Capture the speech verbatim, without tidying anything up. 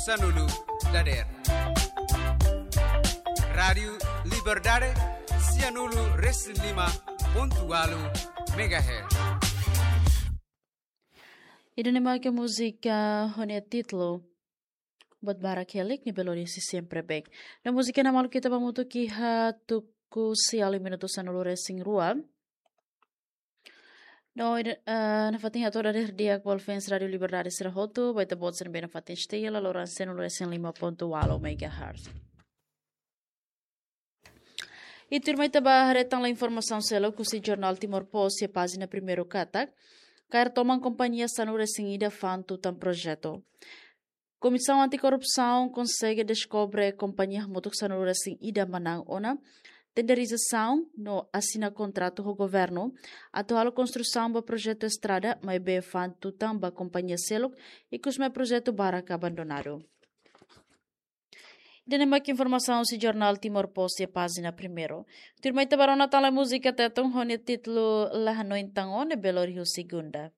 Sanulu dader. Rádiu Liberdade, sianulu resin lima pontu walu megahertz. Ida-ne'e mak múzika ho nia títulu Buat Barak Helik, Nia Belo Diri Sempre Bem. No múzika ne'e maluk ita ba hamutuk iha tuku sia halo minutu sanulu resin rua. No, ida, eh, nafatin hato'o dader di'ak ba fans Rádiu Liberdade sira hotu, ba ita-boot sira ne'ebé nafatin setia iha loron sianulu resin lima pontu walu megahertz. I tuirmai ita ba haree tan informasaun seluk husi jornál Timor Post iha pájina primeiru katak, kaer toman kompañia sanulu resin ida fa'an tutan projetu. Komisaun Anti-Korrupsaun konsege deskobre kompañia hamutuk sanulu resin ida manán ona tenderizasaun no asina kontratu ho governu atu halo konstrusaun ba projetu estrada, maibé fa'an tutan ba kompañia seluk, ikus mai projetu barak abandonadu. Ida-ne'e mak informasaun husi jornál Timor Post iha pájina primeiru. Tuirmai ita ba rona tan lai múzika Tetun ho nia títulu La Hanoin Tan Ó, Nia Belo Diri Segunda.